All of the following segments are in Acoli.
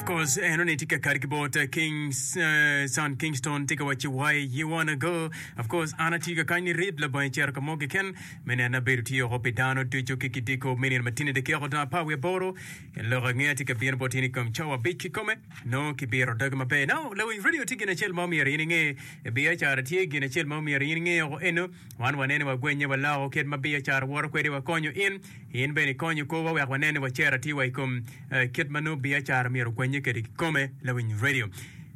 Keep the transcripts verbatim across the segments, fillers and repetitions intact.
Of course, eno ni tye ka kati ki bot eh, King uh, Son Kingston tye ka wacci why you wanna go. Of course, an atye ka kany ni rip labongo icito ka mo keken me neno abedo tye oko pi dano ducu ki kidiko me nino matini dakika odong apar wiye aboro. Lok angeya tye ka bino bot in i kom cawa abic kikome nongo kibiro doge maber. Now, lawiny radio tye gin acel ma omyero in inge. Biacara tye gin acel ma omyero in inge oko eno. Wan wanene wagwenye waloko kit ma biacara woto kwede wakonyo in. In bene ikonyo korwa wek wanene wacero atir wa i kom eh, kit ma nongo biacara myero ogwenye kwede kikome lawiny radio.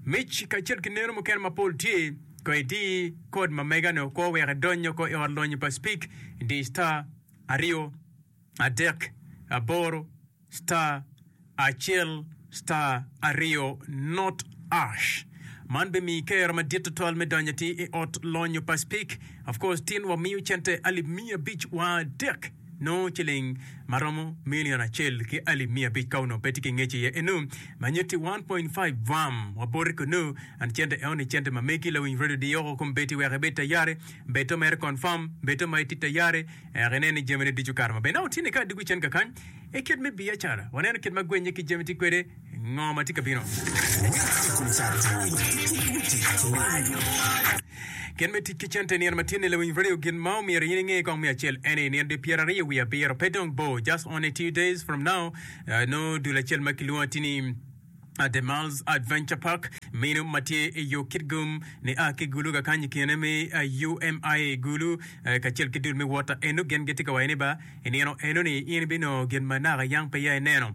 Mic kacel ki neno mukene mapol tye ko idi kod ma mega-ni okwo wek idony oko i ot lonyo pa Speak di star aryo adek aboro star acel star aryo not ash. Man bimiyi kero madit tutwal me donyo atir i ot lonyo pa Speak. Of course, tin wamiyo cente alip miya abic wa adek nongo ciling ma romo milion acel ki alip miya abic ka onongo pe tye ki ngec iye enu ma nyutti one point five vam wa boti kunu and cente eno ni cente ma megi lawiny radio diyoko kombeddi wek ibed tayari beto mere confirm beto ma itye tayari ek inen ni jamine ducu okato maber. Now tye ni ka adwogo cen kakany i kit me biacara waneno kit ma gwenye ki jami tye kwede ngo ma tye ka bino. Kit me tic ki cente i nino ma tye-ni lawiny radio gin ma omyero in inge kong me acel en ni nino dwe pyeraryo wiye abiro pe dong bor just only two days from now nongo dul acel ma kilwongo atir ni The Miles Adventure Park meno ma tye i yo Kitgum nia ki Gulu kakany i kine me U M I A Gulu kacel ki dul me Water eno gin gitye ka waco ni ba i nino eno ni in ibinongo gin ma naka yang peya ineno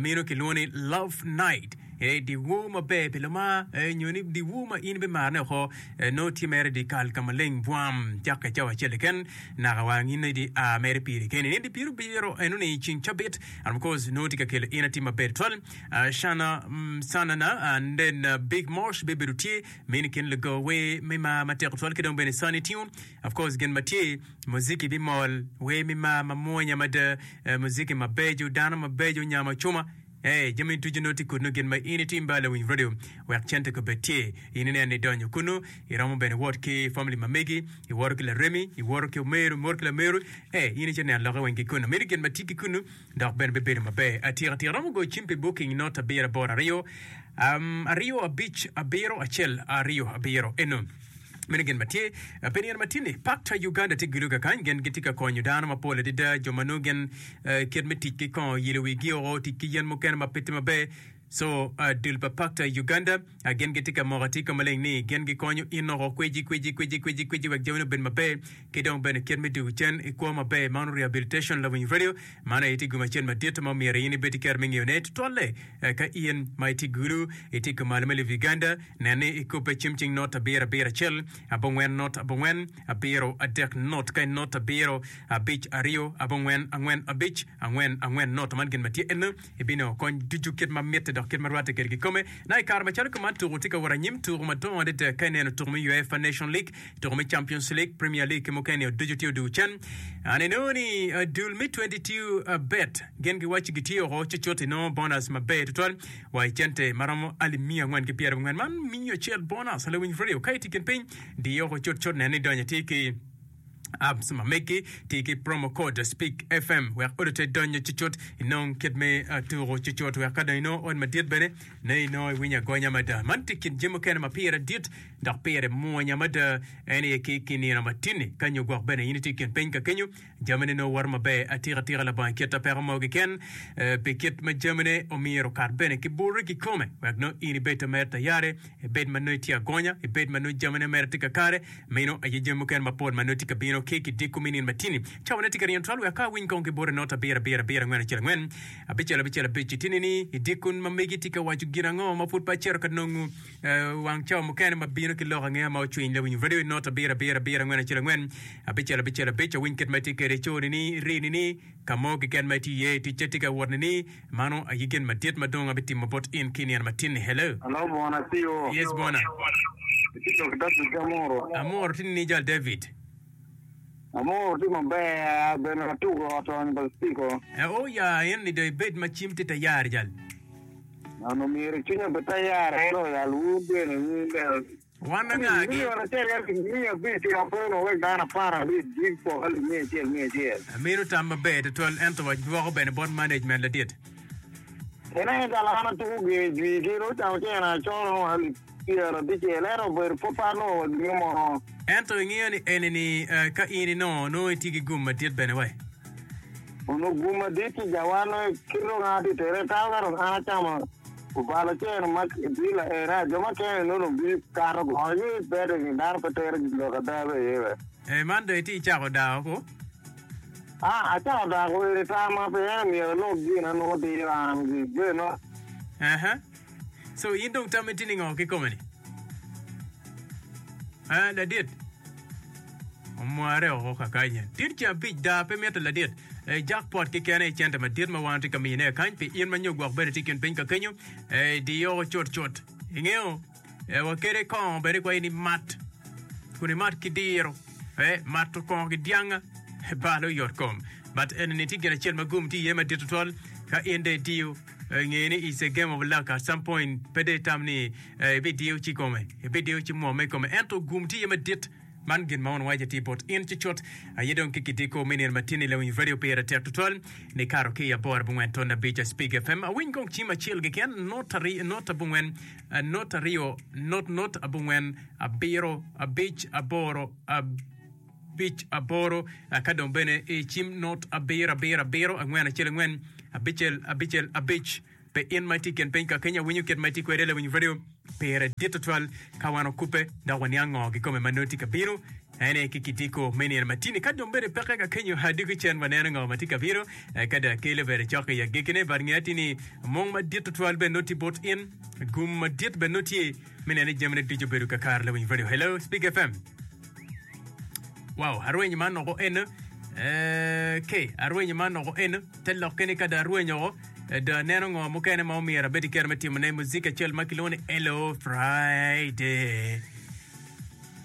meno kilwongo ni Love Night ee dyewor maber pi lumar nyo ni dyewor ma in ibimarone oko nongo tye mere dyekal ka maleng bwam cakke cawa acel keken naka wang in idi a mere piri keni nino dye pyerabiro eno ni ceng cabit and of course nongo tye ka kelo in atim maber twal Shana Sanana and then Big Mosh bibedo tye meno i kin lugo wer me mar matek tutwal ki dong bene Sunny Tune of course gin ma tye muziki bimol wer me mar mamwonya mada muziki mabeco dano mabeco nyamo acuma Ee, jami ducu nongo tye kunnu gin ma in itim ba lawiny radio wek cente kobed tye. In ineno ni idonyo kunnu, iromo bene wot ki family ma megi, iwoto ki laremi, iwoto ki omeru, iwoto ki lameru. Ee, in icito neno lokke weng ki kunnu. Meno gin ma tye ki kunnu dok bene bibedo maber atika tika. Iromo goyo cim pi booking not abiro aboro aryo, um, aryo abic abiro acel aryo abiro. Eno. Meno gin ma tye pi nino ma tye-ni. Pakta Uganda tye giluga kany, gin gitye ka konyo dano mapol adada, jo ma nongo gin kit me tic ki kongo yelo wigi oko, tic ki yen mukene ma pe tye maber. So, dul pa Pakta Uganda gin gitye ka moko atir ka maleng ni gin gikonyo in oko kweci kweci kweci kweci kweci wek jamini obed maber ki dong bene kit me dwogo cen i kwo maber. Mano rehabilitation lawiny radio, mano aye tye gum acel madit ma omyero in ibed ki kero me ngeyone tutwalle ka in ma itye Gulu, itye kumalo me lobo Uganda. Nen ni ikubbe cim cing not abiro abiro acel abongwen not abongwen abiro adek not ka not abiro abic aryo abongwen angwen abic angwen angwen not. Man gin ma tye eno ibinongo kony ducu kit ma mitte dok kit ma rwatte kwede kikome. Na i kare macalo kuman tuku tye ka wot anyim tuku madongo adada ka ineno tuku me UEFA Nation League, tuku me Champions League, Premier League ki mukene ducu tye odwogo cen. An inongo ni dul me twenty two bet gin giwaco gitye oko cucut inongo bonus maber tutwal. Wa i cente ma romo alip miya angwen ki pyerabongwen man miyo acel bonus lawiny radio ka itye i kin piny diyo oko cut cut nen ni idonyo atir ki apps ma megi ti ki promo code speak F M wek odi te donyo cucut inong kit me tuko cucut wek ka dong inongo ot madit bene ne inongo iwinyo agonya mada man tye kin jami mukene ma pire dit dok pire mwonya mada en aye ki ki nino matini ka nyo gwok bene in itye i kin piny ka kenyo Jamine nongo woto maber atika tika labongo kit peko mo keken. Pi kit ma jamine omyero okat bene ki bute kikome wek nongo in ibed mere tayari, ibed ma nongo itye agonya, ibed ma nongo jamine mere tye kakare. Meno aye jami mukene mapol ma nongo tye ka bino ki kidiko me nino matini. Cawane tye ka ryeny twal wek ka awiny kong ki bute not abiro abiro abiro angwen acel angwen abicel abicel abic. Itini ni idiko ma megi tye ka waco gin ango ma pud pe acito ka nongo wang cawa mukene ma bino ki lok angeya ma ocwiny lawiny radio not abiro abiro abiro angwen acel angwen abicel abicel abic awiny kit ma itye kwede iconi ni irini ni ka mo keken ma itye iye ticce tye ka wot ni ni mano aye gin madit ma dong abitimo bot in ki nino matin ni hello. Hello bwana C O. Yes bwana. Itye lok David ki Amuro. Amuro tye ni jal David. Amuro tye maber bene watuko ot onyo pa Spiko. Oh ya en ni dong ibed ma cim tye tayari jal. Nano myero cwinya obed tayar ento yal wun bene wun bene. Wan angagi? Milion acel ki alip miya abic ki aboro wek dano apar abic gipok alip miya acel miya acel. Amito tam maber tutwal ento wadwoko bene bot management ladit. Ene jala an atuko ge jwi ki ro camo cene acoro alip pyerabicel ento obedo pud pe anongo wa gino mo. Ento ingeyo ni eni ni eh, ka in inongo nongo itye ki gum madit bene wai. Onongo gum madit ci jawa nongo kit dong an atye tere tamo ka dong an acamo obalo cene ma bila ena jo mukene nongo dong bi kato go ni betting dano pe tero lok ada be iye be. Eh, man dong itye icako dao ko. Ah, acako dako eni tama pe en myero alok gin anongo diro an gi beno. Aha. So in dong tammi tye ni ngo kikome ni? Ah, ladit. Omware oko kakany. Tit ca abic da pe mitte ladit. Eh, jackpot kikene i cente madit ma wan tye ka miyone kany pi in ma nyo gwok bene tye i kin piny ka kenyo. Eh, diyo cut cut. Ingeyo, eh, wakede kongo bene kwa in mat. Kun imat ki diro. Eh, mato kongo ki dyanga. Balo yot kom. But eni ni tye gin acel ma gum tye iye madit tutwal. Ka in de itiyo eh, nge ni it's a game of luck at some point pe de itam ni eh, ibidiyo ci kome ibidiyo ci mwome i kome ento gum tye iye madit man gin ma wan waco tye bot in cucut aye dong ki kidiko me nino matini lawiny radio pire tek tutwal ni kato ki i aboro abongwen ton abic Spig F M awiny kong cim acel keken not ari not abongwen eh, not aryo not not abongwen abiro abic aboro abic aboro eh, ka dong bene i cim not abiro abiro abiro angwen acel angwen abicel abicel abic pe in ma itye i kin piny ka kenya winyo kit ma itye kwede lawiny radio pire dit tutwal ka wan okupe dok waniang ngo kikome ma nongo tye ka bino ene ki kitiko me nino matini ka dong bene peke ka kenyo adiko cen waneno ngo ma tye ka bino eh, ka dong akelo bene cok i agikine but nge ati ni mong madit tutwal bene nongo tye bot in gum madit bene nongo tye me neno ni jamine ducu obedo kakare lawiny radio hello Speak F M. Wow, arwenyo man oko en eh, ke arwenyo man oko en te lokke ni ka dong arwenyo oko eh, dong aneno ngo mukene ma omyero abed ki kero me timone muzik acel ma kilwongo ni Hello Friday.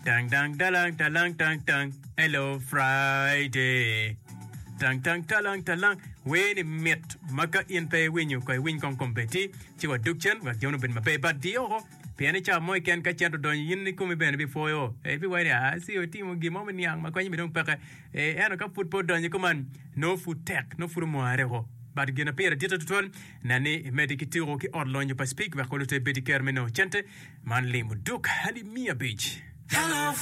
Tang tang talang talang tang tang Hello Friday. Tang tang talang talang wer ni mit ma ka in pe iwinyo ko iwiny kong kombeddi ci wadug cen wek jami obed maber but di oko pien i cawa mo keken ka cen odonyo in ikomi bene bipwoyo e ibiwaco ni ah ci otimo gin mo me niang ma konye dong peke e ento ka pud pe odonyo kuman nongo pud tek nongo pud omware oko but gin na pire dit tutwal nen ni imedde ki tuko ki ot lonyo pa Speke wek olo te bed ki kero me nongo cente man limo duk alip miya abic.